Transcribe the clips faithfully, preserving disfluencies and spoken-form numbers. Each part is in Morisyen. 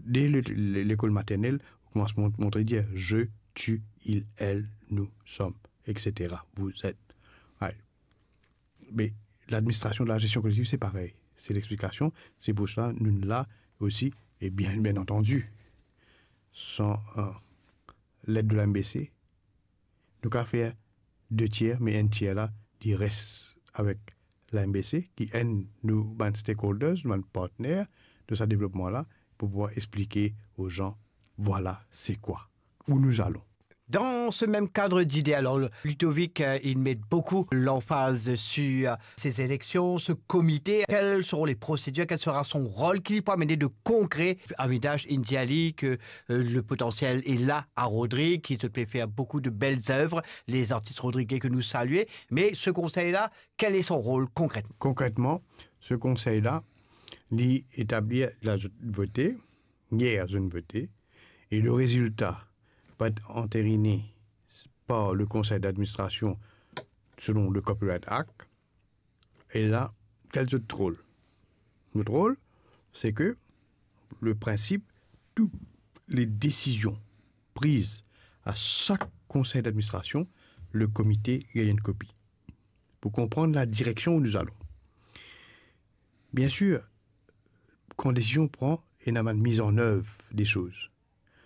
Dès le, le, lekol maternel, ou koumans mont-, montre dir je, tu, il, elle, nous, sommes, et cetera. Vous êtes. Right. Me ladministrasion de la zestion kolektiv, se parey. Se lexplikasion. Se pou sa nou la osi, e bien, bien antandi, san, euh, led de la M B C, nou kapav fer de tier, me enn tier la, li res avek la M B C, ki enn nou bann stakeholders, nou bann partner de sa devlopman la, pou pouvwar explike aux gens, voilà, c'est quoi, où nous allons. Dans ce même cadre d'idées, alors, le- Ludovic, euh, il met beaucoup l'emphase sur, euh, ces élections, ce comité. Quelles seront les procédures, quel sera son rôle, ki li pou amenn de konkre? Avidash inn dir li ke, euh, le potentiel est là à Rodrigue, ki zot pe fer beaucoup de belles œuvres, les artistes rodriguais que nous saluons. Mais ce conseil-là, quel est son rôle concrètement? Konkretman, se konsey la, li etablir la zot vote, yer zot vote, e le rezilta va et anterine par le konsey d'administrasion selon le Copyright Act, e la, kel zot rol? Zot rol, se ke le prinsip, tou le desizion priz a sak konsey d'administrasion, le komite gagn enn kopi pou konpran la direksion où nous allons. Bien sir, kan desizion pran, ena bann miz an œuvre de soz.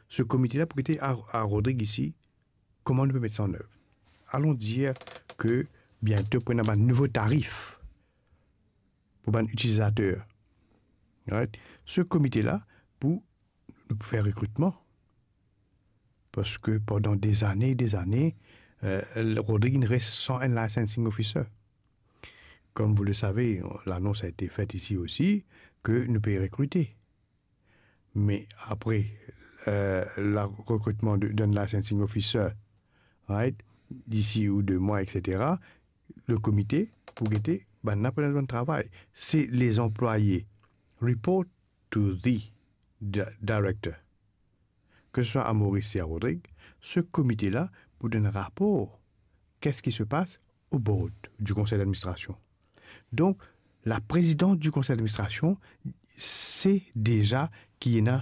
Se komite la pou gete a, a Rodrigue isi, kouma nou pe met sa an œuvre. Alon dir ke biento pou ena bann nouvo tarif pou bann itilizater. Right? Se komite la pou, nou pou fer rekritman. Parski pandan de zane, de zane, euh, Rodrigue inn res san enn licensing officer. Comme vous le savez, l'annonce a été faite ici aussi, ke nou pe rekrite. Me apre, euh, la rekritman de, d'un licensing officer, right, d'ici ou de mwa, et cetera, le komite pou gete bann la pou ena bann travay. Se les employés report to the di-, director. Ke se swa a Maurice e a Rodrigue, se komite la pou donn rapor, qu'est-ce qui se passe au board du conseil d'administration. Donk, la présidente du conseil d'administration, se deza ki ena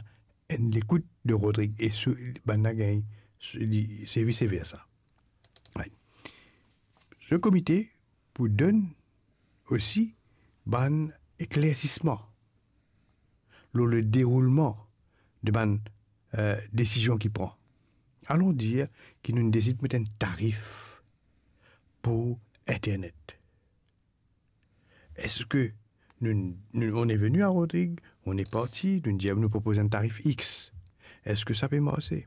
enn lekout de Rodrigue e so, bann la gagn, so, li, se vice versa. Right. Se komite pou donn osi bann eklersisman lor le deroulman de bann, euh, desizion ki pran. Alon dir ki nou desid met enn tarif pou internet. Eski nou, nou, on est venu à Rodrigue, on est parti, nou dir, nou propoz enn tarif X. Eski sa pe marse?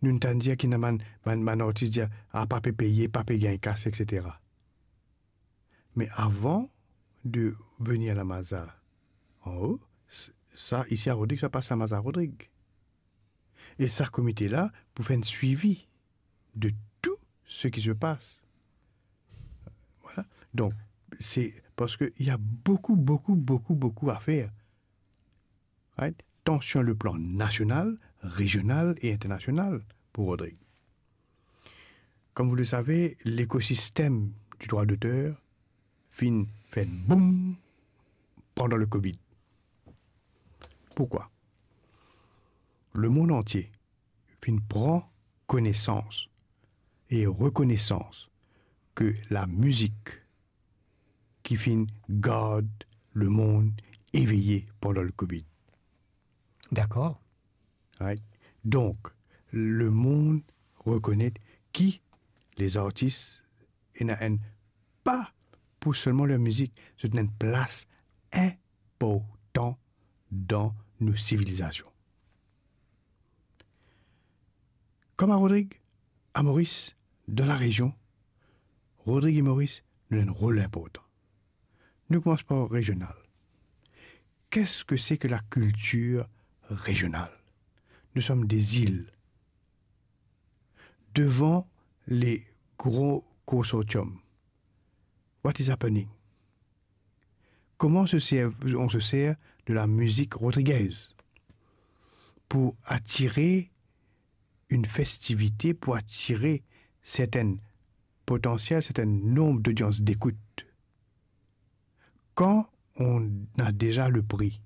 Nou tann dir ki ena bann, bann, bann artis dir, ah, pa pe peye, pa pe gagn kas, et cetera. Me avan de venir la maza anlo, s-, sa, isi a Rodrigue, sa pas la maza Rodrigue. E sa komite la pou fer enn swivi de tou seki se pas. Voilà. Donk, se parski il y a beaucoup, beaucoup, beaucoup, beaucoup à faire. Right? Tant sur le plan national, régional et international pour Rodrigue. Comme vous le savez, l'écosystème du droit d'auteur finn fer boum pandan le Covid. Pourquoi? Le monde entier finn pran konesans e rekonesans ke lamizik ki finn gard lemond eveye pandan le Covid. Dakor. Right? Donk, lemond rekonet ki lezartis ena enn, pa pou selman ler mizik, zot ena enn plas inportan dan nou sivilizasion. Kom a Rodrig, a Moris, dan larezion, Rodrig e Moris, nou ena enn rol inportan. Nou koumans par rezional. Qu'est-ce que c'est que la culture régionale? Nous sommes des îles. Devant les gros consortiums, what is happening? Comment se sert, on se sert de la musique rodriguaise pour attirer une festivité, pour attirer certaines potentielles, certain nombre d'audiences d'écoute? Quand on a déjà le prix,